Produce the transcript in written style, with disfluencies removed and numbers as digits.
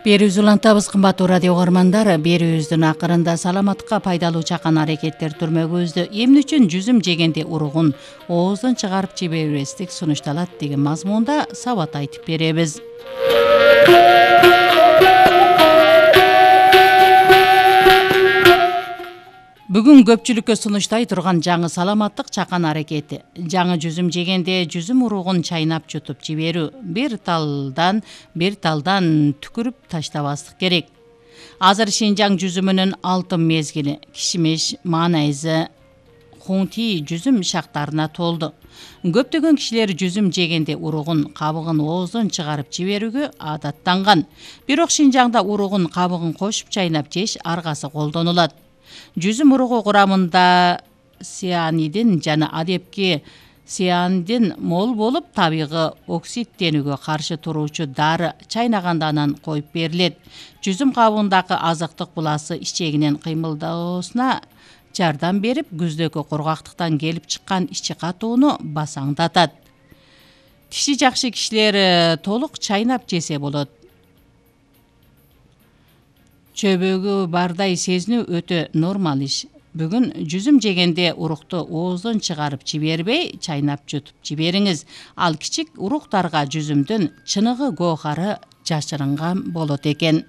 Берүүбүздү улантабыз, кымбаттуу радио угармандар. Берүүбүздүн акырында саламаттыкка пайдалуу чакан аракеттер түрмөгүбүздү эмне үчүн жүзүм жегенде уругун ооздон чыгарып жибербестик сунушталат деген мазмунда сабат айтып беребиз. Бүгүн көпчүлүккө сунуштай турган жаңы саламаттык чакан аракети. Жаңы жүзүм жегенде жүзүм уругун чайнап жутуп жиберүү. Бир талдан түкүрүп таштабастык керек. Азыр Шинжаң жүзүмүнүн алтын мезгили. Кишмиш, манайзы, хунти жүзүм шактарына толду. Көптөгөн кишилер жүзүм жегенде уругун, кабыгын ооздон чыгарып жиберүүгө адаттанган. Бирок Шинжаңда уругун, кабыгын кошуп чайнап жеш аргасы колдонулат. Жүзүм уругу курамында цианидин жана адепки цианидин мол болуп, табигый оксидтенүүгө каршы туруучу дары чайнаганда анан коюп берилет. Жүзүм кабыгындагы азыктык буласы ичегинин кыймылдоосуна жардам берип, күздөгү кургактыктан келип чыккан ичи катууну басаңдатат. Тиши жакшы кишилер толук чайнап жесе болот. Чөбөгү бардай сезинүү өтө нормал иш. Бүгүн жүзүм жегенде урукту ооздон чыгарып жибербей, чайнап жутуп жибериңиз. Ал кичик уруктарга жүзүмдүн чыныгы гоохары жашырынган болот экен.